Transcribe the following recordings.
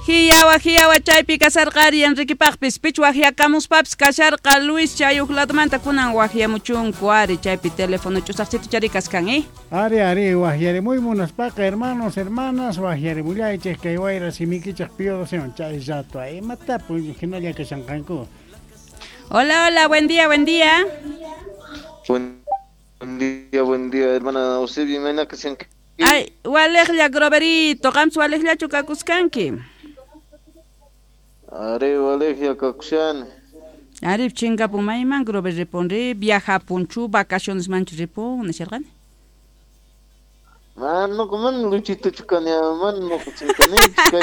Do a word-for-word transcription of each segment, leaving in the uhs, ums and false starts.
Hiyawa hiyawa chaypi kasarqari Enriquepaqpis pich waqyakamuspapis kasharqa Luis chayuq ladumanta kunan waqyamuchunku ari chaypi teléfono ch'usaqchito chari kaskan eh Ari ari waqyarimuy munaspaqa hermanos hermanas waqyarimullaychik kay wayra simikichik piyodosiwan chay rato imatapu hinalla kashanqanku. Hola, hola, buen día, buen día. Buen día, buen día, hermana Eusebio, imayna kashanki. Ay, waliqlla Groverito, qamsi waliqllachu kakuskanki. Ari waliqlla kakushani. Ari chinkapun mayman Grover ripun ri viajapunchu vacaciones manchu ripun nisharqani. Mana mana Luchitochu kani, mana nuqa chinkanichu, kay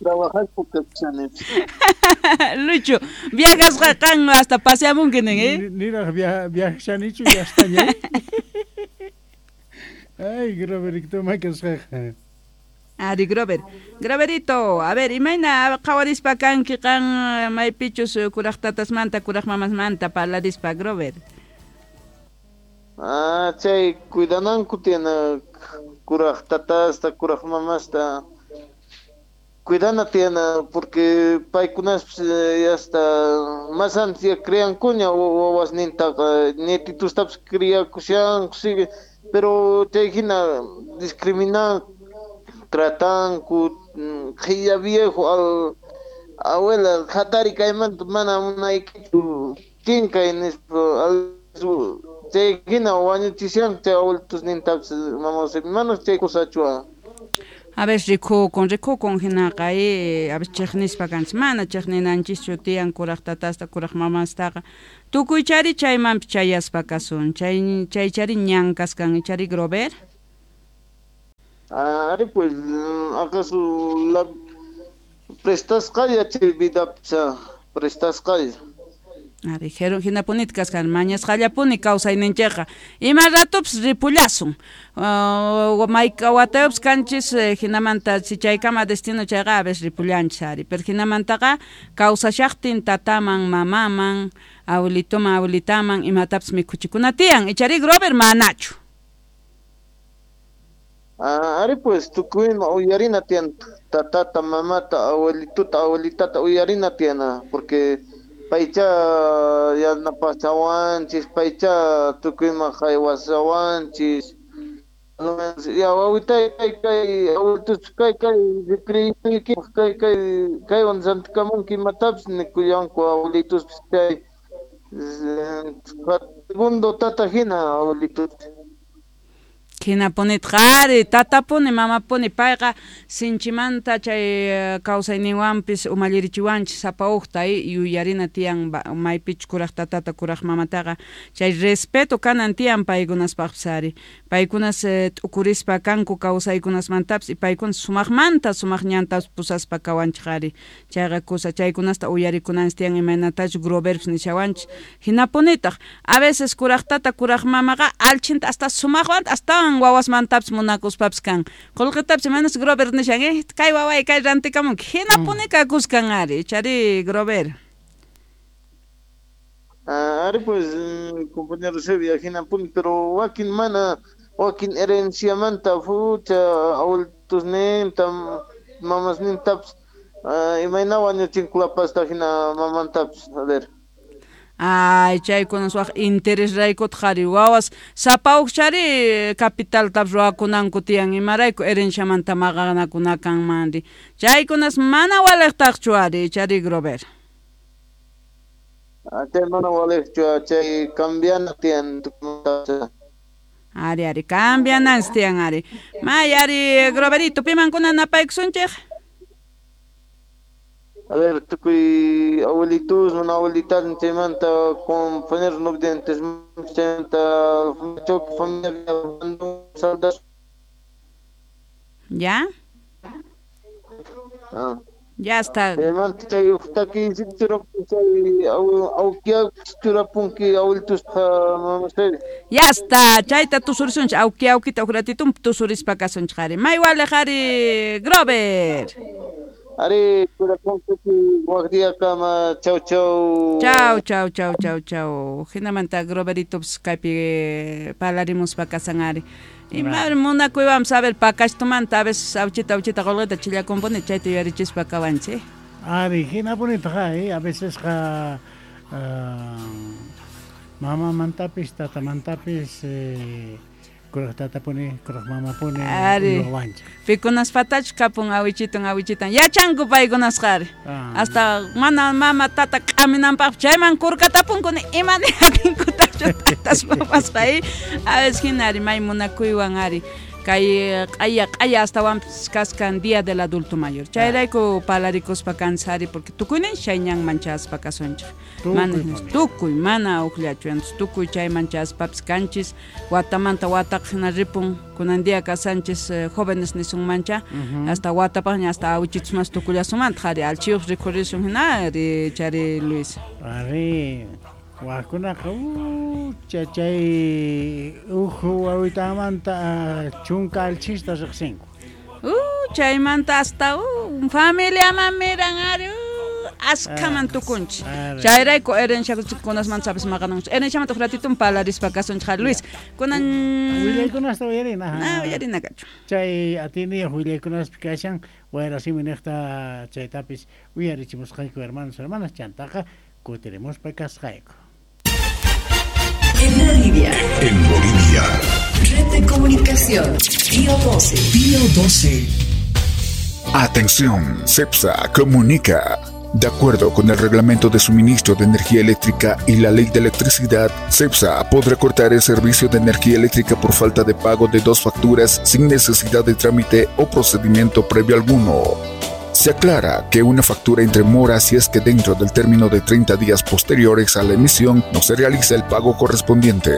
trabajaspa kakushani. Lucho, viajasqa qan hasta paseamunki nin, eh? Niraq viajashanichu ya estaña. Ay, Groverito, makasqaqa. Ari Grover, Groverito, a ver, imayna qhawarispa kanki qan maypichus kuraq tatasmanta kuraq mamasmanta parlarispa Grover. Ah, chay cuidananku tiyana kuraq tatasta, kuraq mamasta. Cuidana tiyana porque paykunaspis ya hasta más antes ya criankuña wawasnintaqa nietitustapis criakushanku sigue, pero chay hina discriminan tratanku qhilla viejo al abuela hatari kaymanta mana munaykichu chinkay nispa al chay hina wañuchishanku chay abuelitusnintapis mama mana chay kusachu. A ver, rikukun, rikukun hinaqa eh, a ver chiqnispa kanchis mana chiqninanchischu tiyan kuraq tatasta kuraq mamastaqa tukuychari chaymanpi chayaspa kasun chay chaychari ñan kaskan ichari Grover. Ari pues acaso la prestasqalla chay vidapcha prestasqalla. Ari hinapunit kaskan mañasqallapuni kawsayninchikqa ima ratupis ripullasun uh, mayka watayupis kanchis hinamanta si chaykama destino chayqa a veces ripullanchis ari pero hinamantaqa kawsashaqtin tataman mamaman abuelitoman abuelitaman imatapis mikhuchikuna tiyan ichari Grover manachu. Ah, ari pues tukuyma uyarina tiyan tatata mamata abuelituta abuelitata uyarina tiyana porque paycha yanapasawanchis paycha tukuyma haywasawanchis ya wawitay kay kay abuelitus kay kay rikriykipaq kay kay kaywan rantikamunki imatapis nikullanku abuelituspis chay segundo tata hina abuelitus. Hinapunitqa ari tatapuni mamapuni payqa sinchimanta chay kawsayninwanpis umallirichiwanchis sapa uqta yuyarina tiyan maypichus kuraq tatata kuraq mamataqa chay respeto kanan tiyan paykunaspaqpis ari paykunas t'ukurispa kanku kawsaykunasmantapis y paykunas sumaqmanta sumaq ñantapis pusaspa kawanchik ari chayqa kusa chaykunasta uyarikunanchis tiyan imaynatachus Groverpis nishawanchis hinapunitaq a veces kuraq tata kuraq mamaqa alchinta hasta sumaqwanta hasta wawasmantapis munakuspapis kan qullqitapis imaynas Grover nishan eh kay waway kay rantikamunki hinapuni kakuskan ari chari Grover. Ah, ari pues compañero Sevilla hinapuni pero wakin mana wakin herenciamanta fucha abuelitusninta mamasnintapis imayna wañuchinkulapasta hina mamantapis a ver. Ay, chaykunas waq interés raykutaq qhari wawas sapa uqchari capitaltapis ruwakunanku tiyan imarayku herenciamanta maqanakuna kanmanri chaykunas mana waliqtaqchu ari chari Grover. Chay mana waliqchu chay cambiana tiyan. Ari ari cambiananchis tiyan ari may ari Groverito pimankuna napaykusunchik. A ver, tukuy abuelitos, mana abuelitas chaymanta compañeros no videntes chaymanta choque familia saldas. ¿Ya? Ah. Ya está. Chaymanta chay uqtaki chay awkiaq churapunki abuelituspa mamasari. Ya está, chayta tusurisunchik awki awkita uq ratitun tusurispa kasunchik ari may waliq ari Grover. Ari, wak kama, chau chau. Chau, chau, chau, chau, chau. Hinamanta Groverito kaypi parlarimuspa kasan ari. Ima munakuywanpas a ver pakashtumanta a veces awchita awchita qolqita chillakunpuni chayta yuyarichispa kawanchik. Ari, hinapunitaqa, eh, a veces qa uh, mamamantapis tatamantapis eh, kuraq tatapuni, kuraq mamapuni ari. Pikunaspatachu kapun awichitun awichitan yachanku paykunasqa ari. Ah. Hasta mana mama tata k'aminanpaq chayman kurkatapunkuni ima niyatinkutachu tatas mamasqa eh. A veces hina ari may munakuywan ari. Kay q'aya q'aya astawanpis kaskan Día del Adulto Mayor. Chayrayku palarikuspa kansari porque tukuynin chay ñanman chaspa kasunchik. Mana tukuy mana uqllachu entonces tukuy chayman chaspapis kanchis watamanta wataqa hina ripun kunan día kasanchis eh, jóvenes nisunmancha uh -huh. hasta watapaqña hasta awichitus mas tukullasunmanta ari alchiyuq rikhurisun hina ari chari Luis. Ari Wakunaqa uh, chay uhu wawitamanta chunka alchista riqsinku. Uh, chaymanta hasta uh, familiaman miran ari uh, askaman tukunchik. Chayrayku herenciakunasmanta sabes maqananchik. Herenciamanta uj ratitun parlarispa kasunchik Luis. Kunan willaykunasta uyarina. Ah, uyarina kachu. Chay atiniyuq willaykunaspi kashan wayra simi niqta chaytapis uyarichimusqayku hermanos hermanas chantaqa kutirimuspa kasqayku. En Bolivia. En Bolivia. Red de comunicación. Pío doce. Pío doce. Atención, CEPSA comunica. De acuerdo con el Reglamento de Suministro de Energía Eléctrica y la Ley de Electricidad, CEPSA podrá cortar el servicio de energía eléctrica por falta de pago de dos facturas sin necesidad de trámite o procedimiento previo alguno. Se aclara que una factura entre mora si es que dentro del término de treinta días posteriores a la emisión no se realiza el pago correspondiente.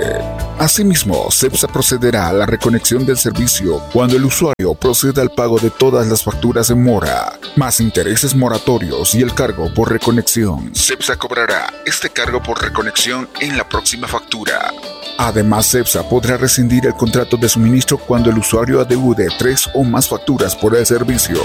Asimismo, CEPSA procederá a la reconexión del servicio cuando el usuario proceda al pago de todas las facturas en mora, más intereses moratorios y el cargo por reconexión. CEPSA cobrará este cargo por reconexión en la próxima factura. Además, CEPSA podrá rescindir el contrato de suministro cuando el usuario adeude tres o más facturas por el servicio.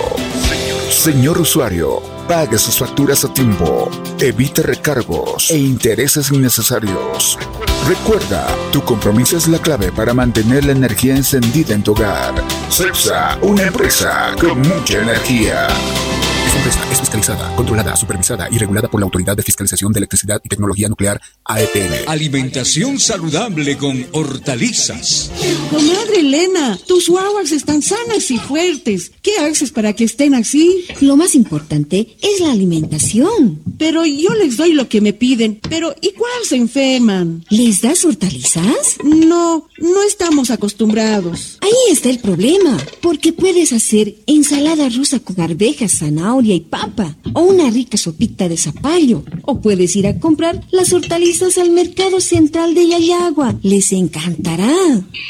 Señor usuario, pague sus facturas a tiempo, evite recargos e intereses innecesarios. Recuerda, tu compromiso es la clave para mantener la energía encendida en tu hogar. CEPSA, una empresa con mucha energía. Esta empresa es fiscalizada, controlada, supervisada y regulada por la Autoridad de Fiscalización de Electricidad y Tecnología Nuclear, A E T N. Alimentación saludable con hortalizas. Comadre Elena, tus guaguas están sanas y fuertes. ¿Qué haces para que estén así? Lo más importante es la alimentación. Pero yo les doy lo que me piden. Pero igual se enferman. ¿Les das hortalizas? No, no estamos acostumbrados. Ahí está el problema, porque puedes hacer ensalada rusa con arvejas, zanahoria y papa, o una rica sopita de zapallo, o puedes ir a comprar las hortalizas al mercado central de Llallagua. Les encantará.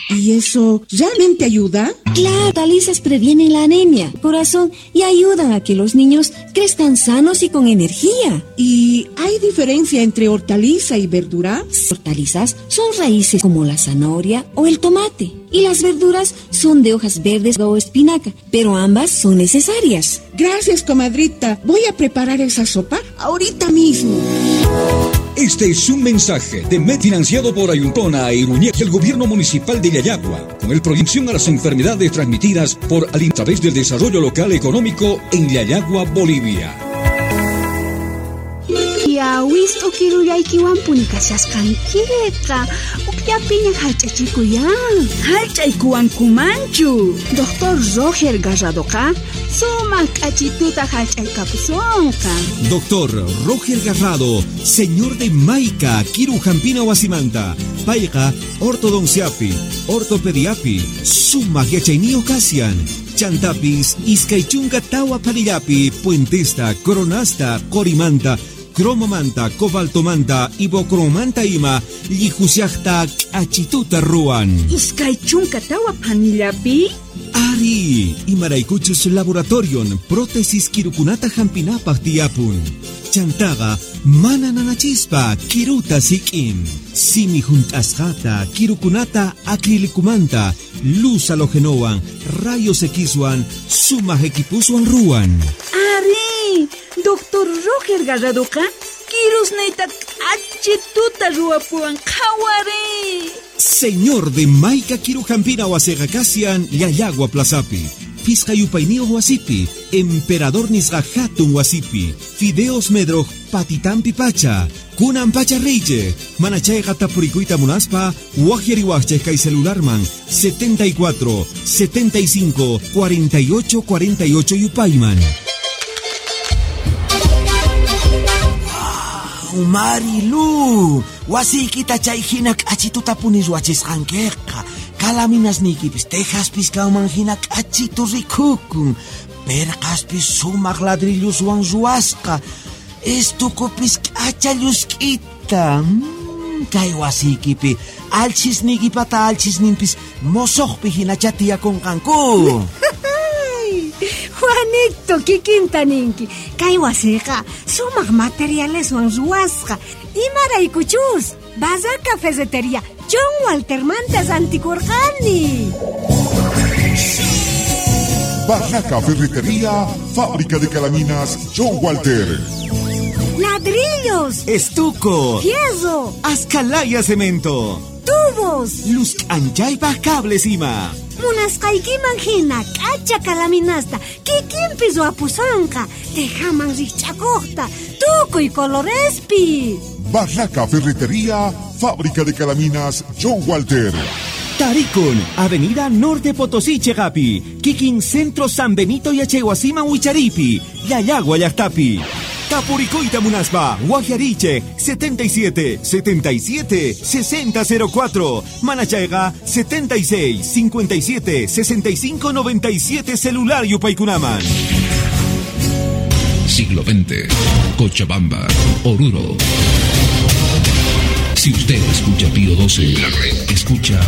¿Y eso realmente ayuda? Claro, hortalizas previenen la anemia, corazón y ayudan a que los niños crezcan sanos y con energía. ¿Y hay diferencia entre hortaliza y verdura? Hortalizas son raíces como la zanahoria o el tomate, y las verduras son de hojas verdes o espinaca, pero ambas son necesarias. Gracias, comadrita. Voy a preparar esa sopa ahorita mismo. Este es un mensaje de M E D financiado por Ayuntona e Iruñe y el Gobierno Municipal de Llallagua, con el Proyección a las Enfermedades Transmitidas por a través del Desarrollo Local Económico en Llallagua, Bolivia. Yawisto kiruyaykiwanpuni kashasqankiqa ukllapiña hallch'achikuyan. Hallch'aykuwankumanchu. Doctor Roger Garradoqa sumaq k'achituta hallch'aykapusunqa. Doctor Roger Garrado, señor de Maica, Kirujampina wasimanta, payqa ortodonciapi, ortopediapi, sumaq yachayniyuq kasian. Chantapis, iskay chunka tawa panillapi, puentesta, coronasta, corimanta, cromomanta, cobaltomanta, ibocromanta ima, llijusiaqta k'achituta ruwan. Iskay chunka tawa panillapi? Ari, imaraykuchus laboratorion, prótesis kirukunata hampinapaq tiyapun. Chantaqa mana nanachispa kiruta sik'in. Simi hunt'asqata, kirukunata acrilicumanta, luz halogenowan, rayos X-wan, sumaq equipuswan ruwan. Ari, Doctor Roger Garradoqa kirusniyta k'achituta ruwapuwan qhawari. Señor de Maica Kirujampina wasiqa kasian Llallagua Plazapi. Fisqa yupayniyuq wasipi, Emperador nisqa hatun wasipi, Fideos Medroj patitampi pacha, kunan pacha reyche, manachayqa tapurikuyta munaspa, waqyariwaqchej kay celularman setenta y cuatro, setenta y cinco, cuarenta y ocho, cuarenta y ocho yupayman. Wow, Marilu, wasiykita chay hina k'achituta puni ruwachisqankiqa. Kalaminasniykipis tejaspis kanman hina k'achitu rikukun. Perqaspis sumaq ladrilluswan ruwasqa. Estukupis k'acha llusk'ita. Mm, kay wasiykipi alchisniykipata alchisninpis mosoqpi hinacha tiyakunqanku. Juanito, kikinta ninki. Kay wasiqa sumaq materialeswan ruwasqa. Imaraykuchus Barraca Ferretería John Walter mantas antikurqani. Barraca Ferretería, fábrica de calaminas John Walter. Ladrillos, estuco, fierro, ascalaya cemento, tubos, luz anchaypa cables ima. Munasqaykiman hina k'acha kalaminasta kikinpi ruwapusonqa, tejaman rikch'akuqta, tukuy colorespi. Barraca Ferretería, fábrica de calaminas John Walter. Tarikun, Avenida Norte Potosí, Chegapi, Kikin Centro San Benito y Achehuasima Huicharipi, Llallagua Llaqtapi. Tapuricoita Munaspa, Guajariche, setenta y siete, setenta y siete, sesenta cero cuatro, Manachaiga, setenta y seis, cincuenta y siete, sesenta y cinco, noventa y siete, celular Yupaykunaman. Siglo veinte, Cochabamba, Oruro. Si usted escucha Pío doce, escucha